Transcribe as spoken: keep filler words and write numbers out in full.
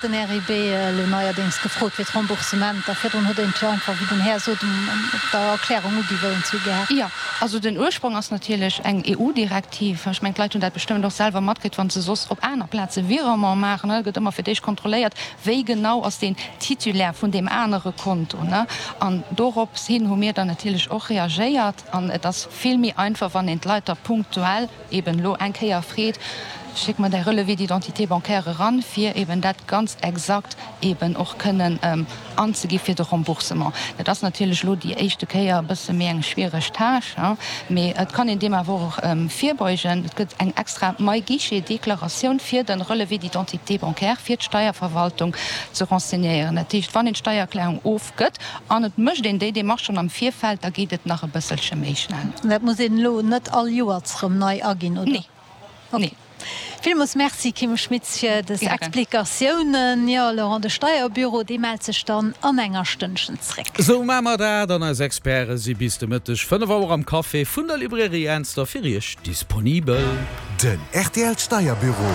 Den RIB elo neierdéngs gefrot fir d'Remboursementer. Virdrun huet een et jo einfach, wéi den Här sot, op der Erklärung ugi wou een zu gehat. Jo, also den Ursprong ass natierlech eng E U-Direktiv. Ech mengen, d'Leit hunn dat bestëmmt och selwer matkritt, wa se soss op aner Plaze Virement maachen. Et gëtt ëmmer fir d'éischt kontrolléiert, wéi genau ass deen Titulaire vun deem anere Konto. An dorops hin hu mir dann natierlech och reagéiert. An et ass vill méi einfach, wann een d'Leit da punktuell eben elo eng Kéier freet, Schéck mer däi Relevé d'identité bancaire eran, fir eben dat ganz exakt eben och kënnen anzegi fir de Remboursement. Dat ass natierlech elo déi éischte Kéier e bësse méi eng schwiereg Tâche, mee et kann een deem awer och virbeugen. Et gëtt eng extra MyGuichet-Deklaratioun fir de Relevé d'identité bancaire fir d'Steierverwaltung ze renseignéieren. Dat heescht, wann een d'Steiererklärung ofgëtt an et mécht een déi Démarche schonn am Virfeld, da geet et nach e bësselche méi schnell. Dat muss een elo net all Joers erëm nei aginn, oder? Nee. Nee. Villmools Merci, Kim Schmitz, fir des Explikatiounen. Jo, Laurent, de Steierbüro, dee mellt sech dann an enger Stënnchen zréck. Esou maache mer dat, an eis Experte si bis de Mëtteg fënnef Auer am Café vun der Librairie Ernster fir Iech disponibel. Den rtl Steierbüro.